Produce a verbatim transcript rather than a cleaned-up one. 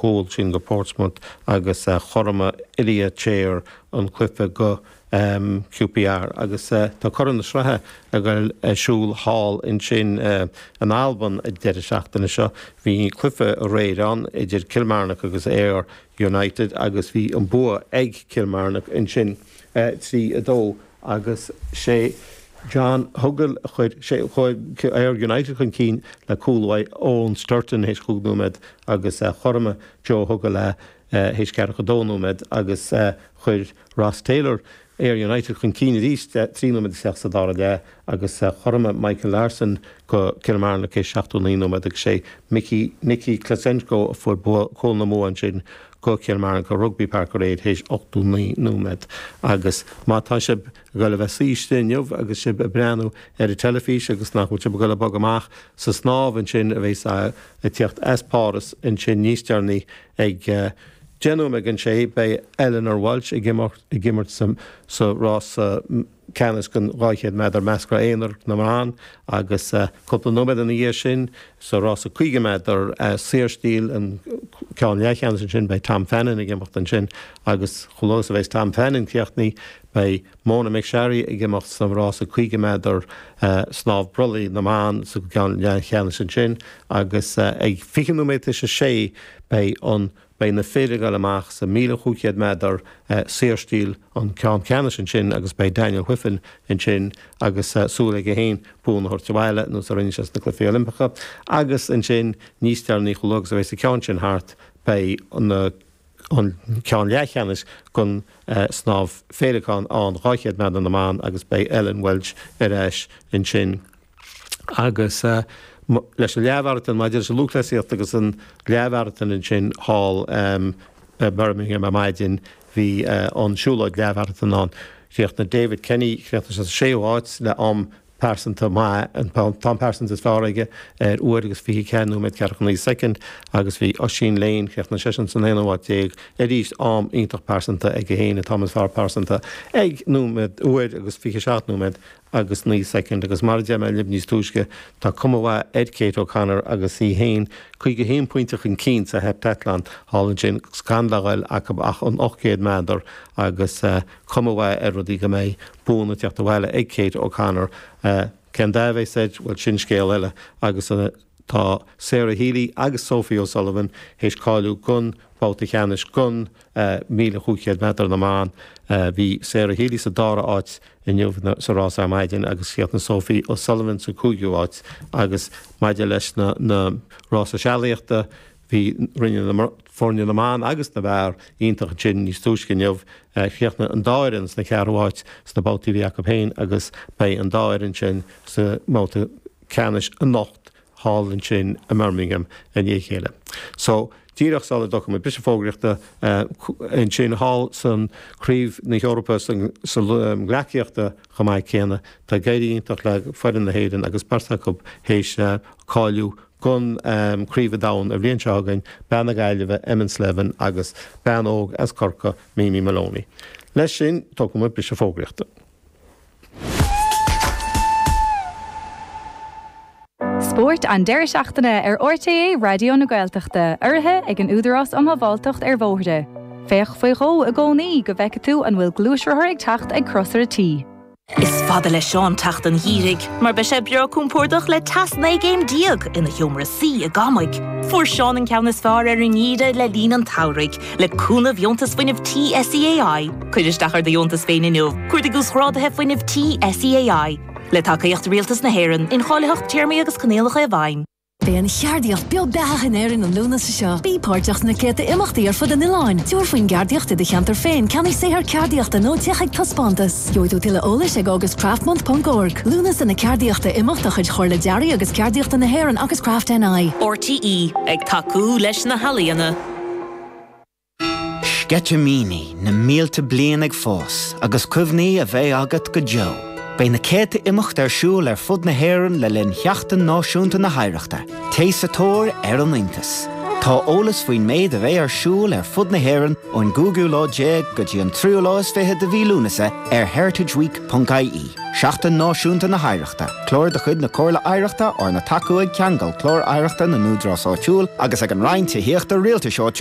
chúl sin go Portsmouth agus chothromaigh Iliya Chair an cluiche go um, QPR agus uh, tá Corn na Sraithe ag dul ar siúl thall ansin uh, in Albain an deireadh seachtaine seo bhí cluiche aréir ann idir Kilmarnock agus Ayr United agus bhí an bua ag Kilmarnock ansin uh, trí a dó agus sé John Hugill chuir sé Ayr United chun cinn le cúl uaidh Eoin Sturton théis cúig nóiméad agus uh, chothromaigh Joe Hugill le uh, théis ceathracha dó nóiméad agus uh, chuir Ross Taylor Ayr United chun cinn arís trí nóiméad isteach sa dara leath agus chothromaigh Michael Larson go Kilmarnock é seachtó naoi nóiméad agus sé Mickey Nicky Klasenko a fuair cúl na mbua ansin go Kilmarnock Rugby Park aréir théis ochtó naoi nóiméad agus má tá sibh ag dul a bheith suite inniu agus sibh ag breathnú ar an teilifís agus nach bhfuil sibh ag dul a bogadh amach sa snámh ansin a bheas ag teacht as Páras ansin níos deireanaí ag uh, Déanúm ag an sé beidh Eleanor Walsh ag ag imirt sa rás ceannais den dhá chéad méadar measctha aonair na mban agus cúpla nóiméad ina dhiaidh sin sa rás caoga méadar saorstíl an ceann leathcheannais ansin beidh Tom Fannin ag imeacht ansin agus chomh luath a bheas Tom Fannin críochnaithe beidh Mona McSharry ag imeacht sa rás caoga méadar snámh brollaigh na mban sa ceann leathcheannais ansin agus ag fiche nóiméad tar éis a sé beidh an beidh na fir ag dul amach sa míle cúig chéad méadar saorstíl an ceann ceannais ansin agus beidh Daniel Wiffen ansin agus súil aige féin bua a thabhairt abhaile nó a rinne sé sna Cluichí Oilimpeacha agus ansin níos deireanaí chomh luath agus a bheas an ceann sin thart beidh an an ceann leathcheannais den uh, snámh féileacáin an dhá chéad méadar na mban agus beidh Ellen Welch ar ais ansin agus uh, leis an leathmharatón maidir leis an lúthchleasaíocht agus an leathmharatón ansin thall um, Birmingham ar maidin bhí uh, an siúlóid leathmharatón ann. Chríochnaigh David Kenny chríochnaigh sa séú háit le am pearsanta maith an t-am pearsanta is fearr aige ar uair agus fiche ceathair nóiméad ceathracha naoi soicind agus bhí Oisín Lane chríochnaigh seisean san aonú háit déag arís am iontach pearsanta aige féin an t-am is fearr pearsanta ag nóiméad uair agus fiche seacht nóiméad agus naoi soicind agus mar a deir mé libh níos túisce tá cuma mhaith ar Kate O'Connor agus í féin caoga haon pointe chun cinn sa heptathlon thall ansin gan le dhul acu ach an ocht gcéad méadar agus uh, cuma mhaith ar rudaí go mbeidh bua ag teacht abhaile ag Kate O'Connor uh, cén dath a bheas air bhuel sin scéal eile agus uh, tá Sarah Healy agus Sophie O'Sullivan théis cáiliú don bhabhta ceannais don uh, míle cúig chéad méadar na mban uh, bhí Sarah Healy sa dara áit inniu sa rás ar maidin agus chríochnaigh Sophie O'Sullivan sa cúigiú áit agus maidir leis na, na rása sealaíochta bhí rinne na foirne na mban agus na bhfear iontach sin níos túisce inniu chríochnaigh an dá fhoireann sna ceathrú háit sna babhtaí a bhí acu féin agus beidh an dá fhoireann sin sa mbabhta ceannais anocht thall ansin i mBirmingham i ndiaidh a chéile. So díreach sula dtógfaidh muid briseadh fógraíochta ansin thall san Craobh na hEorpa sa ghleacaíochta chomh maith céanna tá ag éirí iontach le foireann na hÉireann agus beirt acu théis cáiliú don um, Craobh an Domhain an bhliain seo chugainn bean na Gaillimhe Emma Slevin agus bean óg as Corcaigh Mimi Maloney. Leis sin tógfaidh muid briseadh fógraíochta. Spórt an deireadh seachtaine ar RTÉ Raidió na Gaeltachta, urraithe ag an Údarás um Shábháilteacht ar Bhóithre. Féach faoi dhó i gcónaí go bhfeice tú an bhfuil gluaisrothar ag teacht ag crosaire T. Is fada le Seán teacht an gheimhridh, mar beidh sé breá compordach le teas naoi gcéim déag ina sheomra suí i gCamaigh. Fuair Seán an ceann is fearr ar an ngeimhreadh le linn an tsamhraidh, le cúnamh dheontas fuinnimh tí SEAI. Cuir isteach ar do dheontas féin inniu, cuardaigh uasghráduithe fuinnimh tí SEAI. Le tacaíocht Rialtas na hÉireann, incháilitheacht téarmaí agus coinníollacha i bhfeidhm. Beidh an cheardaíocht beo beathach in Éirinn an Lúnasa seo. Bí páirteach sna céadta imeachtaí ar fud an oileáin. Tabhair faoin gceardaíocht i do cheantar féin, ceannaigh saothar ceardaíochta nó téigh chuig taispeántas. Gheobhaidh tú tuilleadh eolais ag augustcraftmonth.org. Lúnasa na Ceardaíochta imeacht de chuid Chomhairle Dearaidh agus Ceardaíochta na hÉireann agus Craft NI. RTÉ ag tacú leis na healaíona. Sceitimíní na mílte bliain ag fás agus cuimhní a bheidh agat go deo. Beidh na céadta imeacht ar siúl ar fud na hÉireann le linn Sheachtain Náisiúnta na hOidhreachta. Téigh sa tóir ar an iontas. Tá eolas faoin méid a bheidh ar siúl ar fud na hÉireann ón gcúigiú lá déag go dtí an tríú lá is fiche de mhí Lúnasa ar heritageweek.ie. Seachtain Náisiúnta na hOidhreachta. Clár de chuid na Comhairle Oidhreachta arna tacú ag Ceangal Clár Oidhreachta na nÚdarás Áitiúil agus ag an Roinn Tithíochta Rialtais Áitiúil